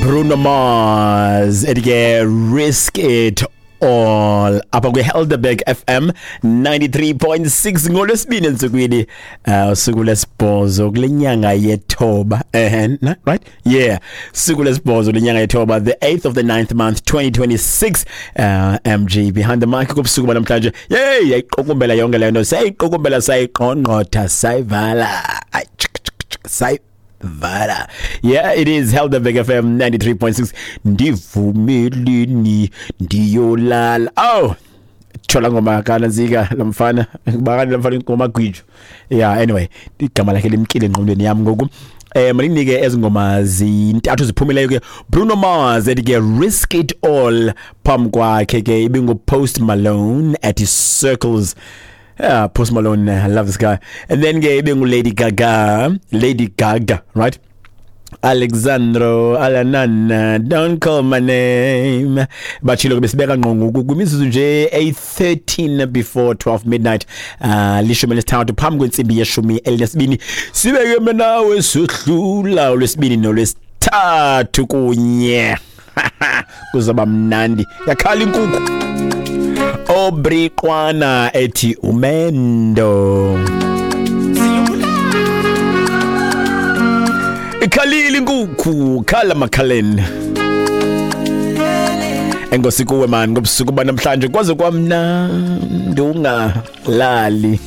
Bruno Mars ethi ke "Risk It All" apha kwi-Helderberg FM 93.6 ngolwesibini entsukwini, usuku lwesibhozo kule nyanga yethoba, right, yeah, suku lwesibhozo lenyanga yethoba, the 8th of the 9th month 2026. MG behind the mic kubusuku banamhlanje. Yey, yayiqukumbela yonke le nto, sayiqukumbela, sayiqongqotha, sayivala. Ay, chik, chik, chik, sayivala. Yeah, it is Helderberg FM 93.6. Ndivumeleni ndiyolala. Oh, thola ngoma kananzika lamfana, bakani lamfana ingoma gwijo. Yeah, anyway, igama lakhe limkile engqondweni yami ngoku. Maninike ezi ngoma zintathu ziphumileyo ke. Bruno Mars ethi ke "Risk It All", phambi kwakhe ke ibingu Post Malone at "Circles". Yeah, Post Malone, I love this guy. And then ke ibingu Lady Gaga, Lady Gaga, right? Alexandro Alanana, "Don't Call My Name". Batshilo ke besibeka ngqo ngoku kwimizuzu nje 8:13 before 12 midnight, 13 phambi kwentsimbi ye-12. Sibeke mina nawe sohlula olwesibini nolwesithathu kunye, kuzoba mnandi. Yakhala inkukhu. Obriqwana ethi "Umendo". Ikhalile inkukhu, khala makhaleni. Enkosi kuwe man ngobusuku banamhlanje, kwaze kwamnandi ungalali.